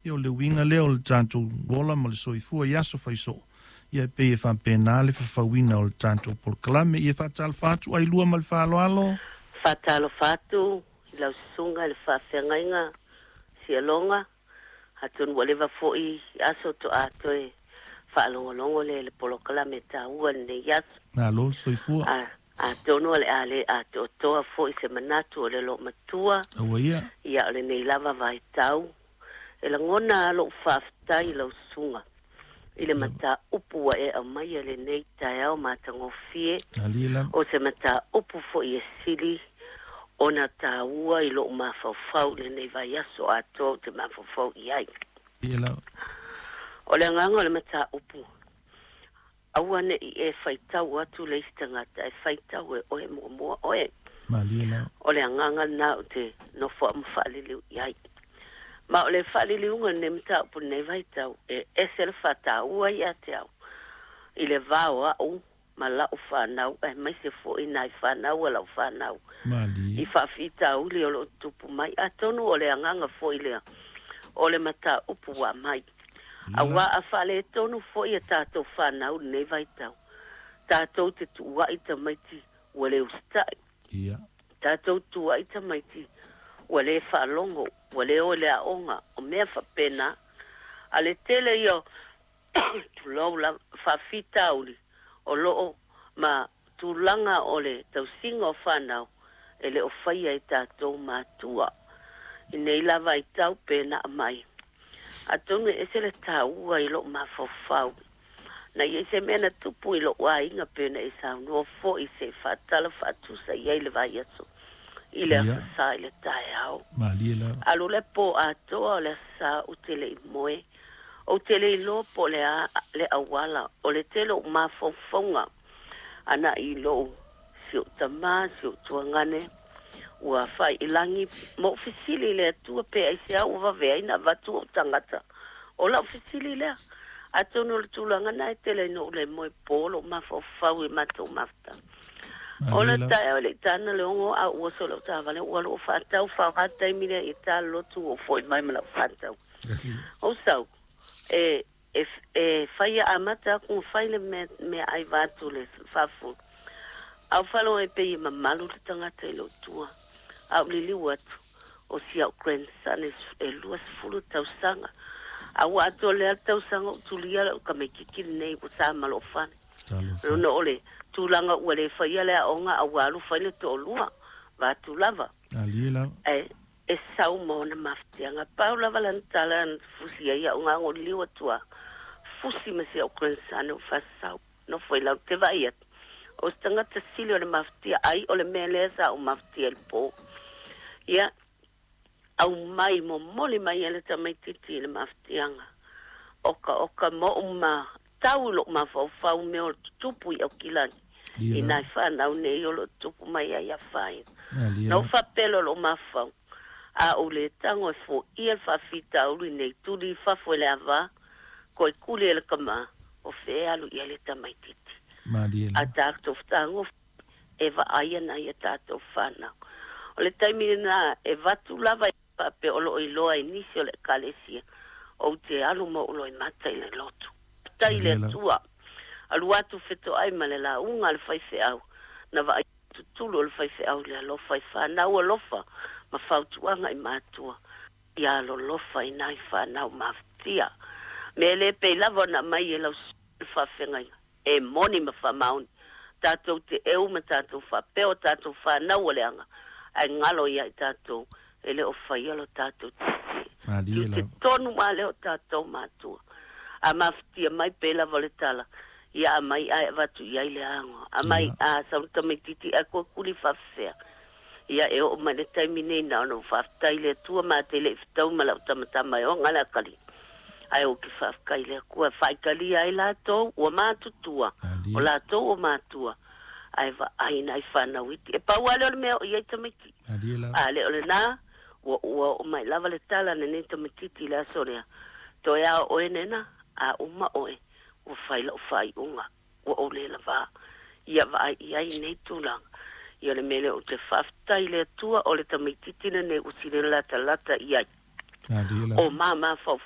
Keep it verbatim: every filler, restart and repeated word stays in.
Ia o le uiga lea o le tatou ola ma le soifua i aso faisoo. Ia e pei e faapena le fafauina o le tatou polokalame. Ia faatalofa atu ai lua ma le faaaloalo. Faatalofa atu i lau susuga i le faafeagaiga Sialoga, atonu ua leva foi aso toa toe faalogologo le le polokalame taua lenei aso. Malo le soifua. A, atonu o le a le atoatoa foi se manatu o le loomatua. Aua ia. Ia o lenei lava vaitau. E lagona lou faafetai i lau susuga i le mataupu ua e aumaia lenei taeao matagofie. Malie lava. O se mataupu foi e sili ona taua i lou mafaufau i lenei vaiaso atoa ou te mafaufau i ai. Ia lava. O le agaga o le mataupu, aua ne'i e faitau atu le isi tagata, e faitau e oe muamua oe. Malie lava. O le agaga lena ou te nofoa ma faaliliu i ai. Ma o le faaliliuga lenei mataupu lenei vaitau, e ese le faataua ia te au i le va o a'u ma la'u fanau, aemaise foi nai fanau a la'u fanau. Malie. I faafitauli o loo tutupu mai. Atonu o le agaga foi lea o le mataupu ua aumai. Auā a faaletonu foi a tatou fanau lenei vaitau, tatou te tuua'i tamaiti ua le usita'i. Ia. Tatou tuua'i tamaiti ua lē faalogo, ua lē o i le aoga, o mea faapena. A le tele ia o tulou lava faafitauli o loo ma tulaga o le tausiga o fanau e le o faia e tatou matua. I nei lava vaitau pe na aumai. Atonu e ese le taua i lou mafaufau. Na i ai se mea na tupu i lou aiga pe na e saunoa foi se faatala faatusa i ai le vaiaso i le Ia. aso Sa i le taeao. Malie lava. Alu le po atoa o le aso Sa ou te le i moe. Ou te le iloa po o le a le auala o le tele o mafaufauga ana i lou si ou tamā si ou tuagane ua faailagi ma ou fesili i le Atua pe aisea ua vave ai ona avatu ou tagata. O lau fesili lea. Atonu o le tulaga lena e tele ai ona ou le moe po lou mafaufau i matou mafutaga. O Malie le lava. taeao e le i tana le ono a ou oso i lau taavale ua alu o faatau faoga taimi lea i ta lotu ua ou foi mai ma lau faatau. Ou sau e e e fai amata atu ona fai le mea meaai vaeatu le faafulu. A ou faalogo ai pei e mamalu le tagata i lou tua. A ou liliu atu o si au grandson e luasefulu tausaga. A ua atoa le a le tausaga ou tulia lau tamaititi lenei ua sa ma lou fale. Talofa. Ona o le tulaga ua le faia le aoga a ua alu fai le toalua vaeatu lava. Malie lava. Ae e sau ma ona mafatiaga. Pau lava lana tala na fusi ai au gago liliu atu a fusi ma si au grandson ou faasasau. Nofo i lalo te vaai atu. O se tagata sili o le mafatia ai o le mea lea sa ou mafatia i le po. Ia, aumai momoli mai e le tamaititi i le mafatiaga. Oka oka ma ou ma tau i lou mafaufau mea o le tutupu i Aukilani. Malie I lava. nai fanau nei o loo tutupu mai ai afaina. Malie Na ou lava. faapea lea o lou mafaufau, a ou le tago e foia le faafitauli nei tuli i fafo i le ava, koe kuli e le tama, o fea e alu i ai le tamaititi. Malie A lava. tatou tago e vaaia nai a tatou fanau. O le taimi lena e avatu lava faapea o loo iloa e nisi o le ekalesia ou te alu ma ou loimata i le lotu. Faafetai i le Malie lava. Atua. Alu atu fetoai ma le lauga a le faifeau na vaai tutulu o le faifeau i le alofa i fanau alofa ma fautuaga i matua. Ia alolofa i nai fanau mafatia. Mea le pei lava ona aumai e lau le faafeagaiga e moni ma faamaoni. Tatou te eu ma tatou faapea o tatou fanau o leaga ae galo ia i tatou e le o faia lo tatou tiute. Malie Tiute lava. tonu lava lea o tatou matua. A mafatia mai pei lava o le tala, ia aumai ae avatu i ai le ago. Aumai Ia. a sau le tamaititi ae kuakuli faafefea. Ia e oo mai le taimi nei na ona ou faafetai i le Atua ma te le i fetau ma lau tamatama e oga le akalii. Ae ou te faafetai i le Atua e faaitalia ai latou ua matutua, o Malie. latou ua matua, ae vaai nai fanau iti. E pau lava lea o le mea o i ai tamaiti. Malie lava. A le o lena, ua ua oo mai lava le tala lenei tamaititi i le aso lea. Toe a oe nena, a uma oe, ua fai lau faaiuga, ua ou le lavā. Ia vaai i ai nei tulaga. Ia o le mea lea ou te faafetai i le Atua o le tamaititi lenei ua sili latalata i ai. Malie O lava. ma mafaufau.